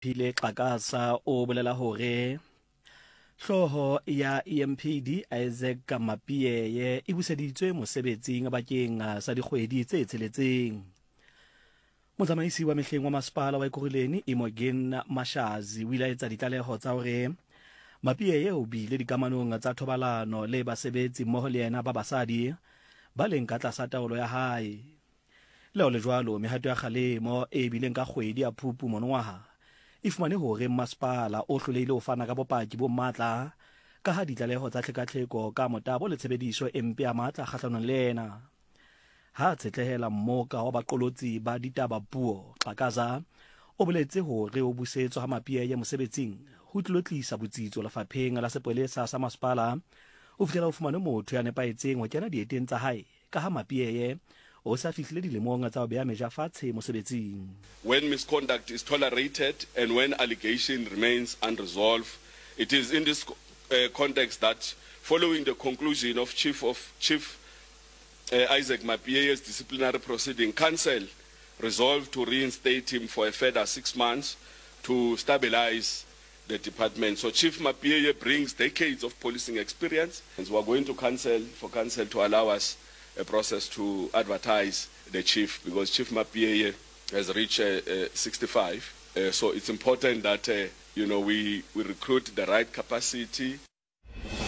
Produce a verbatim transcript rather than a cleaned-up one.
Phile Xhakaza o bolela hore hlooho ya E M P D Isaac Mapiyeye e buseditswe mosebetsing bakeng sa dikgwedi tse tsheletseng. Motsamaisi wa mehleng wa masepala wa Ekurhuleni Imogen Mashazi o ile a etsa ditlaleho tsa hore Mapiyeye o bile dikamanong tsa thobalano le basebetsi mmoho le yena ba basadi ba leng ka tlasa taolo ya hae. Le ho le jwalo, mehato ya kgalemo e bileng ka kgwedi ya Phupu monongwaha e fumane hore masepala o hlolehile ho fana ka bopaki bo matla ka ha ditlaleho tsa tlhekatlheko ka motabo le tshebediso e mpe ya matla kgahlanong le yena. Ha tshetlehela mmoka wa baqolotsi ba ditaba puo, Xhakaza o boletse hore ho busetswa ha Mapiyeye mosebetsing ho tlilo tlisa botsitso lefapheng la sepolesa sa masepala ho fihlela ho fumanwe motho ya nepahetseng ho kena dieteng tsa hae, ka ha Mapiyeye o sa fihlile dilemong tsa ho beha meja fatshe mosebetsing. When misconduct is tolerated and when allegation remains unresolved, it is in this uh, context that following the conclusion of Chief of Chief uh, Isaac Mapiyeye's disciplinary proceeding, Council resolved to reinstate him for a further six months to stabilize the department. So Chief Mapiyeye brings decades of policing experience, and we are going to council for council to allow us a process to advertise the chief, because Chief Mapiyeye has reached uh, uh, sixty-five. Uh, so it's important that uh, you know we, we recruit the right capacity.